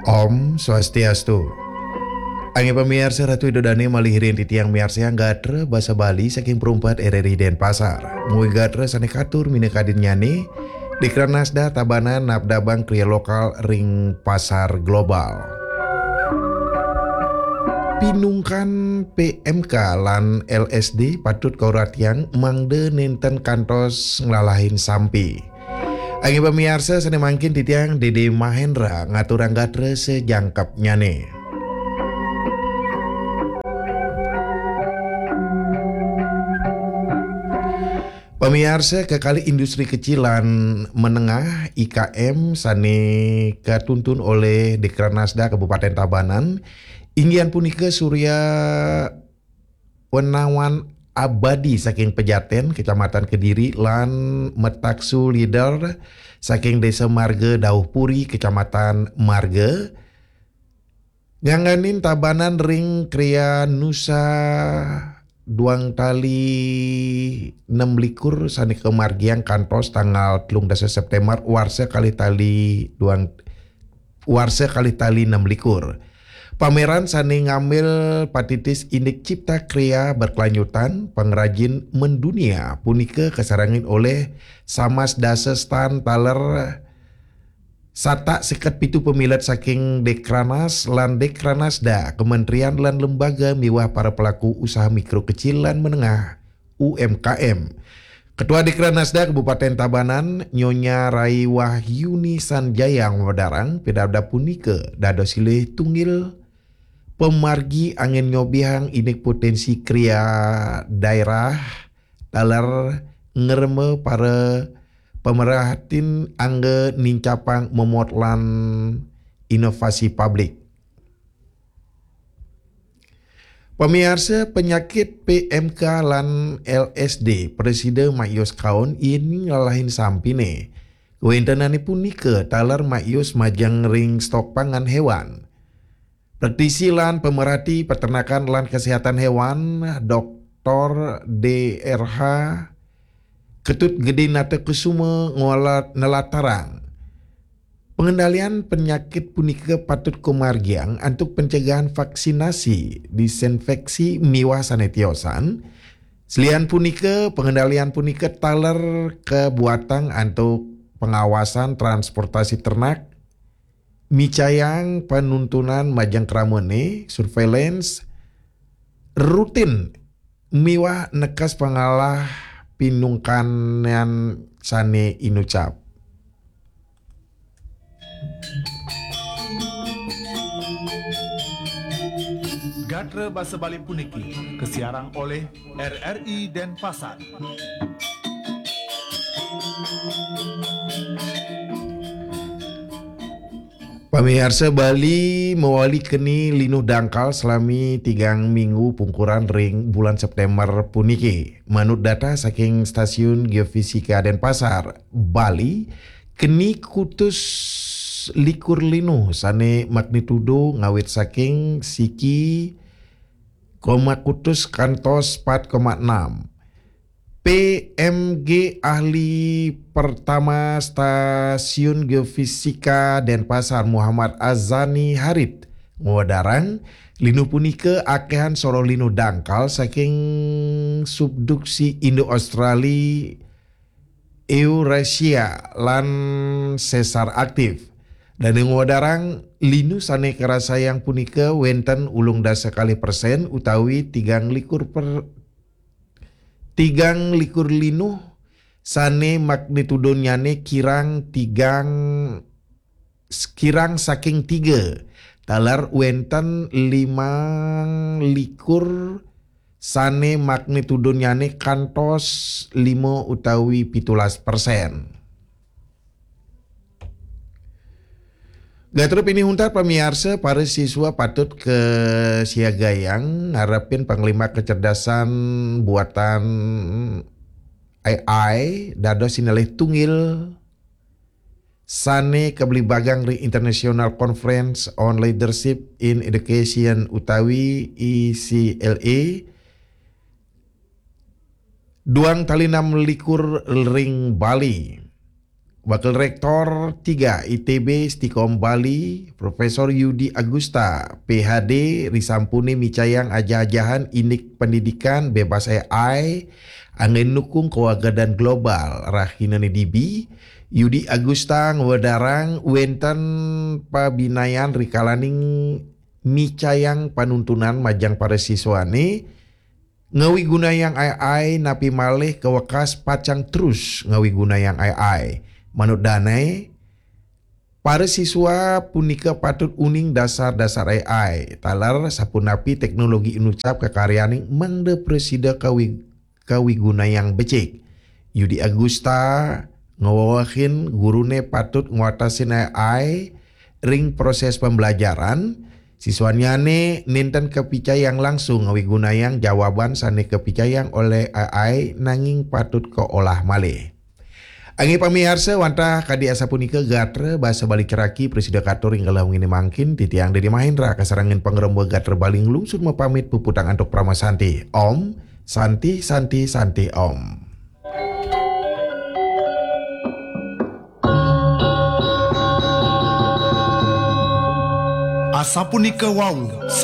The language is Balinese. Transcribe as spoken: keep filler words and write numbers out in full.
Om Swastiastu. Angge pamiarsa, Ratu Ida dane malih rin titiang miarsayang gatra basa Bali saking Perumpat R R I Denpasar. Mugi gatra sane katur minakadinnyane, Dekranasda Tabanan nabdabang kriya lokal ring pasar global. Pinungkan P M K lan L S D patut kauratiang mangda nenten kantos nglalahin sampi. Angge pamiarsa, sane mangkin titiang Dede Mahendra ngaturang gatra sajangkepnyane. Pamiarsa, kekalih industri kecil lan menengah, I K M, sane katuntun olih Dekranasda Kabupaten Tabanan, inggih punika Surya Wenawan Abadi saking Pejaten, Kecamatan Kediri, lan Metaksu Leader saking Desa Marga Dauhpuri, Kecamatan Marga, ngangganin Tabanan ring kriya nusa duang tali nem likur sane kamargiang kantos tanggal telung dasa September warsa kalih tali duang, warsa kalih tali nem likur. Pameran sane ngambil patitis indik cipta kriya berkelanjutan, pengrajin mendunia punika kasarengin olih samas dasa stan taler satak seket pitu pamilet saking Dekranas lan Dekranasda, kementerian lan lembaga miwah para pelaku usaha mikro kecil lan menengah, U M K M. Ketua Dekranasda Kabupaten Tabanan, Nyonya Rai Wahyuni Sanjaya, ngwedarang, pidabdab punika dados silih tunggil pamargi anggen nyobihang indik potensi kriya daerah taler ngremba para pamerhatin angga nincapang momot lan inovasi publik. Pamiarsa, penyakit P M K lan L S D prasida mayos kaon yén nglalahin sampine. Kawentenane punika taler mayos majeng ring stok pangan hewan. Praktisi lan pemerhati peternakan lan kesehatan hewan, Doktor D R H Ketut Gede Nata Kusuma, ngolat nelatarang, pengendalian penyakit punika patut kumargiang antuk pencegahan vaksinasi, disinfeksi miwah sane tiosan. Selian punika, pengendalian punika taler kabuatang antuk pengawasan transportasi ternak, micayang panuntunan majeng kramane, surveillance, rutin miwah nekes pangalah pinungkanan sane inucap. Gatra basa Bali puniki kasiarang olih R R I Denpasar. Pamiarsa, Bali mawali keni linuh dangkal salami tigang minggu pungkuran ring bulan September puniki. Manut data saking Stasiun Geofisika Denpasar, Bali keni kutus likur linuh sane magnitudo ngawit saking siki koma kutus kantos pat koma enam. P M G, ahli pertama Stasiun Geofisika Denpasar, Muhammad Azani Harit, ngwedarang, linuh punika akehan soroh linuh dangkal saking subduksi Indo-Australi, Eurasia, lan sesar aktif. Dane ngwedarang, linuh sane karasayang punika wenten ulung dasa kalih persen utawi tigang likur per-, tigang likur linuh sane magnitudonyane kirang tigang, kirang saking tiga, taler wenten limang likur sane magnitudonyane kantos lima utawi pitulas persen. Gatra pinih untat pamiarsa, para siswa patut kasiagayang ngarepin panglima kecerdasan buatan A I dados sinalih tunggil sane kablibagang ring International Conference on Leadership in Education utawi I C L A duang tali enam likur ring Bali. Wakil Rektor tiga I T B Stikom Bali, Profesor Yudi Agusta, P H D, risampune micayang ajah-ajahan indik pendidikan bebas A I, anggen nukung kewagadan global, rahinane dibi, Yudi Agusta ngwedarang wenten pabinayan rikalaning micayang panuntunan majang para siswane, ngawigunayang A I napi malih kawekas pacang terus ngawigunayang A I. Manut dane, para siswa punika patut uning dasar-dasar A I, taler sapunapi teknologi inucap kakaryaning mangda prasida kawi-, kawigunayang becik. Yudi Agusta ngwewehin gurune patut ngwatasin A I ring proses pembelajaran, siswanyane nenten kapicayang langsung ngawigunayang jawaban sane kapicayang olih A I nanging patut kaolah malih. Inggih pamiarsa, wantah kadi asapunika gatra basa Bali ceraki prasida katur ing kalih wengi mangkin, titiang Dedi Mahendra kasarengin pangremba gatra Bali nglungsur mapamit puputang antuk parama santi. Om Santi, Santi, Santi Om. Asapunika wau